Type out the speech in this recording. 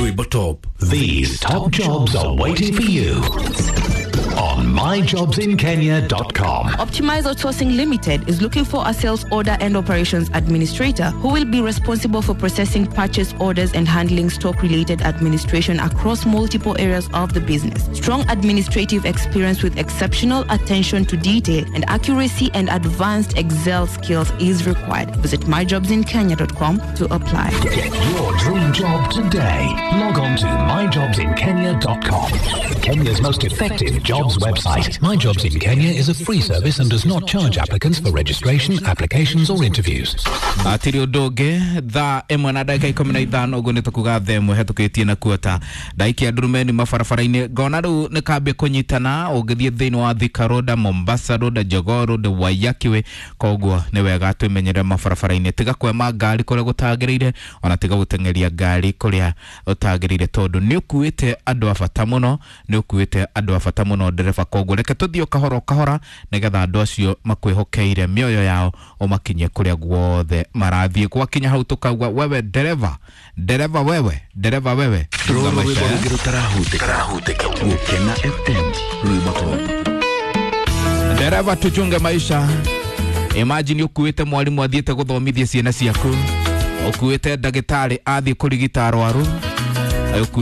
Rwimbo Top. These top jobs are waiting for you on myjobsinkenya.com. Optimize Outsourcing Limited is looking for a sales order and operations administrator who will be responsible for processing purchase orders and handling stock related administration across multiple areas of the business. Strong administrative experience with exceptional attention to detail and accuracy and advanced Excel skills is required. Visit myjobsinkenya.com to apply. Get your dream job today. Log on to myjobsinkenya.com. Kenya's most effective jobs website. My Jobs in Kenya is a free service and does not charge applicants for registration, applications, or interviews. Atirĩ ũndũ ũngĩ, 1:15, ũguo nĩ tũkuga 1:15 na kuota ndaikia ndurumeni mabarabara-inĩ, ngona rĩu nĩ kambia kũnyitana ũngĩthiĩ thĩinĩ wa Thika Road, Mombasa Road, Jogoo Road, Waiyaki Way. Koguo nĩ wega twĩmenyerere mabarabara-inĩ, tiga kwema ngari kũrĩa gũtagĩrĩire, ona tiga gũteng'eria ngari kũrĩa ũtagĩrĩire, tondũ nĩ ũkuĩte andũ a bata mũno, nĩ ũkuĩte andũ a bata mũno, ndereba. Koguo reke tũthiĩ o kahora o kahora nĩgetha andũ acio makwĩhokeire mĩoyo yao ũmakinyie kũrĩa guothe marathiĩ. Gwakinya hau tũkauga, wewe ndereba, ndereba wewe, ndereba wewe, chunga Rũrũ maisha rwĩmbo ya. Rũngĩ rũtarahutĩka, Gũkena FM, Rwimbo Top. Ndereba, tuchunge maisha. Imagine ũkuĩte mwarimũ athiĩte gũthomithia ciana ciaku, ũkuĩte ndagĩtarĩ athiĩ kũrigita arwaru, ũkuĩte